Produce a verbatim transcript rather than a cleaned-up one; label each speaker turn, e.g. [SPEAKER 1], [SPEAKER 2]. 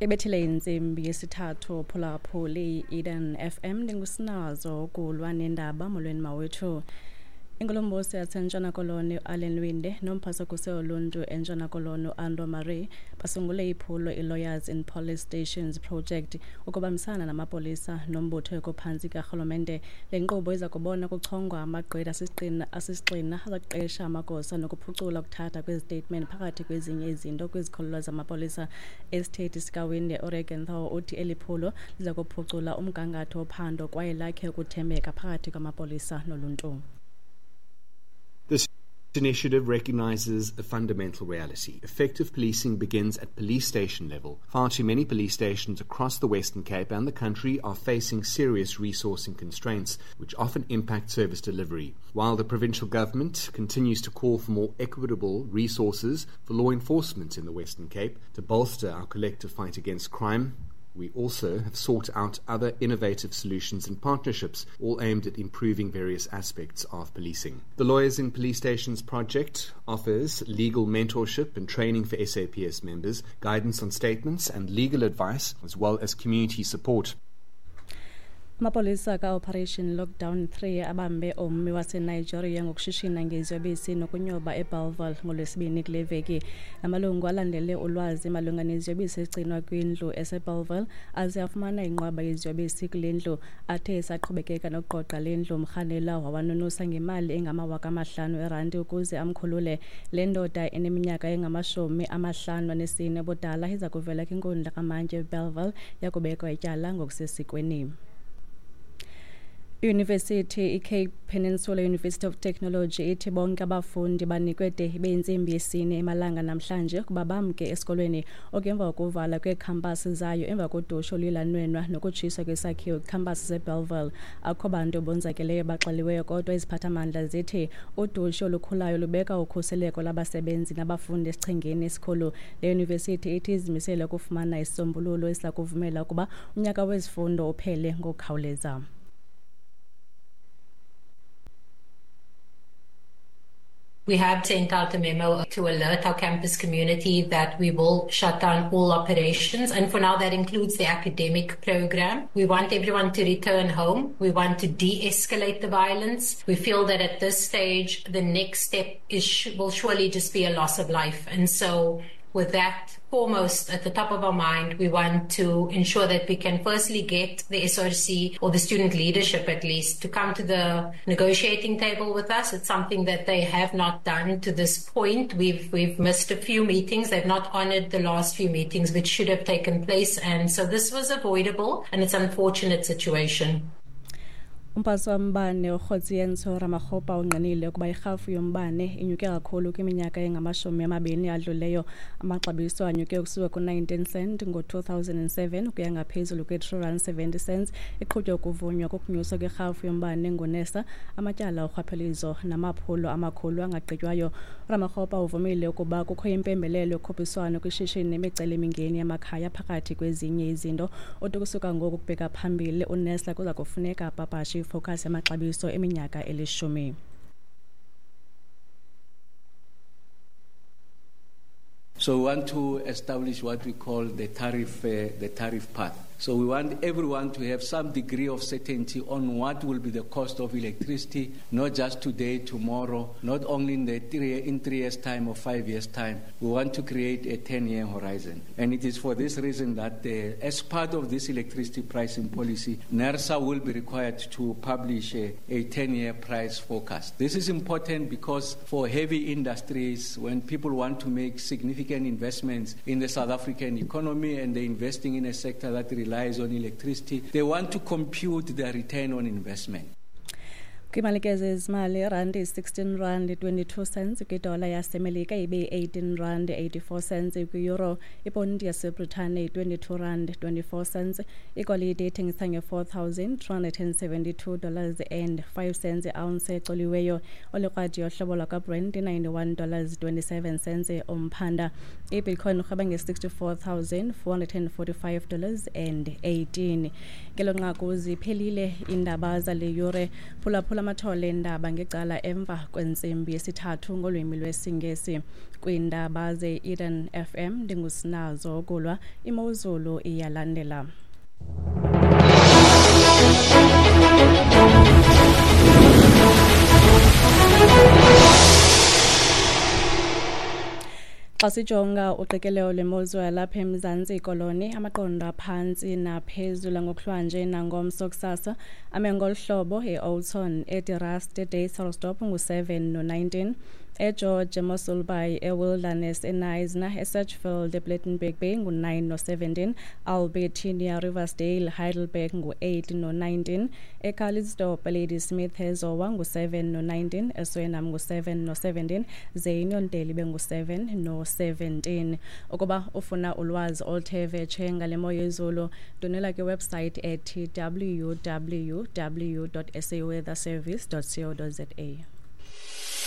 [SPEAKER 1] Ibethile intsimbi yesithathu phulaphuli Eden F M ndingusinazo ukulwa nendaba. Molweni mawethu. Inkulumbuso yaseNtshona Koloni uAllan Winde nomphathakuse oluntu eNtshona Koloni uAndro Marie basungule iphulo iLawyers in Police Stations Project ukubambisana namapolisa nombutho ekuphantsi karhulumente. Le nkqubo iza kubona kuchongwa amagqwetha asisigxina azakuqesha amagosa nokuphucula ukuthatha kwezitatimenti phakathi kwezinye izinto kwizikhululo zamapolisa. Isithethi sikaWinde uRegan Thaw uthi eli phulo liza kuphucula umgangatho wophando kwaye lakhe ukuthembeka phakathi kwamapolisa noluntu.
[SPEAKER 2] This initiative recognizes a fundamental reality. Effective policing begins at police station level. Far too many police stations across the Western Cape and the country are facing serious resourcing constraints, which often impact service delivery. While the provincial government continues to call for more equitable resources for law enforcement in the Western Cape to bolster our collective fight against crime, we also have sought out other innovative solutions and partnerships, all aimed at improving various aspects of policing. The Lawyers in Police Stations project offers legal mentorship and training for S A P S members, guidance on statements and legal advice, as well as community support.
[SPEAKER 1] Amapolisa ka-Operation Lockdown three abambe ummi waseNigeria ngokushishina ngeziyobisi nokunyoba eBellville ngoLwesibini kule veki. Amalungu alandele ulwazi malunga neziyobisi ezigcinwa kwindlu eseBellville aze afumana inqwaba yeziyobisi kule ndlu. Athe esaqhubekeka nokuqoqa le ndlu, umrhanela wawanunusa ngemali engamawaka amahlanu erandi ukuze amkhulule. Le ndoda eneminyaka engamashumi amahlanu anesine ubudala iza kuvela kwinkundla kamantyi eBellville yakubekwa ityala ngokusesikweni. University iCape Peninsula University of Technology ithi bonke abafundi banikwe de ibe intsimbi yesine emalanga namhlanje kuba bamke esikolweni okemva kokuvala kweekhampasi zayo emva kodusho oluyilanwenwa nokutshiswa kwesakhiwo kwiikhampasi zeBellville. Akho bantu bonzakeleyo baxeliweyo, kodwa iziphathamandla zithi udusho olukhulayo lubeka ukhuseleko lwabasebenzi nabafundi esichengeni esikhulu. Le yunivesithi ithi izimisele ukufumana isisombululo esiza kuvumela ukuba unyaka wezifundo uphele ngokukhawuleza.
[SPEAKER 3] We have sent out a memo to alert our campus community that we will shut down all operations. And for now, that includes the academic program. We want everyone to return home. We want to de-escalate the violence. We feel that at this stage, the next step is will surely just be a loss of life. And so with that foremost at the top of our mind, we want to ensure that we can firstly get the S R C or the student leadership at least to come to the negotiating table with us. It's something that they have not done to this point. We've we've missed a few meetings. They've not honored the last few meetings which should have taken place. And so this was avoidable, and it's an unfortunate situation.
[SPEAKER 1] Umphathi wombane uKgosientsho Ramokgopa ungqinile ukuba irhafu yombane inyuke kakhulu kwiminyaka engamashumi amabini adluleyo. Amaxabiso anyuke ukusuka ku-nineteen cent ngo-two thousand and seven ukuya ngaphezulu kwe-three rand seventy cents. Iqhutywa ukuvunywa kokunyuswa kwerhafu yombane nguNERSA, amatyala orhwaphilizo namaphulo amakhulu angagqitywayo. Ramokgopa uvumile ukuba kukho impembelelo yokhuphiswano kwishishini nemicelimingeni yamakhaya phakathi kwezinye izinto. Uthi ukusuka ngoku ukubheka phambili uNERSA kuza kufuneka apapashe focus yamaxabiso eminyaka elishumi.
[SPEAKER 4] So we want to establish what we call the tariff, uh, the tariff path. So we want everyone to have some degree of certainty on what will be the cost of electricity, not just today, tomorrow, not only in the three, in three years' time or five years' time. We want to create a ten-year horizon. And it is for this reason that uh, as part of this electricity pricing policy, NERSA will be required to publish a, a ten-year price forecast. This is important because for heavy industries, when people want to make significant investments in the South African economy and they're investing in a sector that relies on electricity, they want to compute their return on investment.
[SPEAKER 1] Kwimalike zezimali, irandi sixteen rand twenty-two cents kwidola yaseMelika ibe eighteen rand eighty-four cents kwi-euro, iponti yaseBritane twenty-two rand twenty-four cents, igolide ithengisa nge-four thousand three hundred and seventy-two dollars and five cents i-ounce ecoliweyo. Olikrwadi yohlobo lwakwaBrent ninety-one dollars twenty-seven cents umphanda. IBitcoin irhweba nge-sixty-four thousand four hundred and forty-five dollars and eighteen. Ngelo nqaku ziphelile iindaba zale yure. Phulaphula Phulaphula amathole endaba ngecala emva kwentsimbi yesithathu ngolwimi lwesiNgesi. Kwiindaba ze-Eden F M ndingusinazo Kulwa, imozulu iyalandela. Xa sijonga uqikelelo lwemozulu yalapha eMzantsi Koloni, amaqondo aphantsi naphezulu ngokuhlwanje nangomso kusasa ame ngolu hlobo: e-Oudtshoorn, eDe-Rust, eDysselsdorp ngu-seven no-nineteen, eGeorge, eMossel Bay, eWilderness, eKnysna, eSedgefield, ePlettenberg Bay ngu-nine no-seventeen, Albertinia, Riversdale, Heidelberg ngu-eight no-nineteen, eCalitzdorp, Ladysmith, eZowa ngu-seven no-nineteen, eSwellnum ngu-seven no-seventeen, ze iNyondeli bengu-seven no-seventeen. Ukuba ufuna ulwazi oluthe vetshe ngale mo yezulu, ndonela kwiwebsite ethi w w w dot s a weather service dot co dot z a.